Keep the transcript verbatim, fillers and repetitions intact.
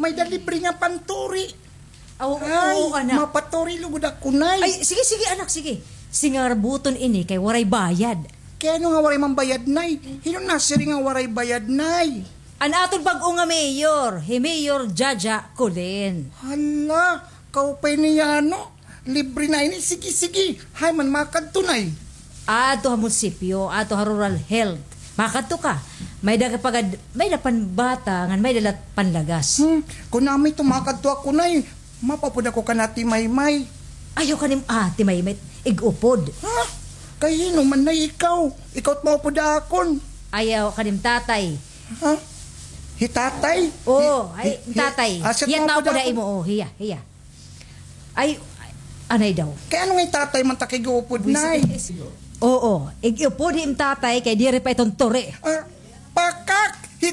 May-ada libre nga panturi. Aw, oo, anak. Mapaturi lugod ako, Nay. Ay, sige, sige, anak, sige. Singarbuton ini kay waray bayad. Kay ano nga waray man bayad, Nay? Hin-o nasiring nga waray bayad, Nay? An aton bag-o nga mayor, hi Mayor Jaja Colin. Hala, kaupay niya, no? Libre na ini. Sige, sige. Hay man makadto, Nay. Adto ha munisipyo, adto ha rural health. Makadto ka. May-ada ka pagad, may-ada panbata, ngan may-ada la panlagas. Hmm, kun amo ito, makadto ako, Nay. Mapapod ako kan Ate Maymay. Ayaw kanim Ate Maymay, ig-upod. Ha? Kay hin-o man, Nay, ikaw? Ikaw it maupod ha akon. Ayaw kanim tatay. Ha? Hi tatay? Oo, hi, ay, hi, tatay. Hiya it maupod ha imo, oh, hiya, hiya. Ay, anay daw. Kay ano nga hi tatay man ta kay ig-upod, Nay? Oo, ig-upod hi im tatay kay diri pa iton turi. Ah, pakak! Hi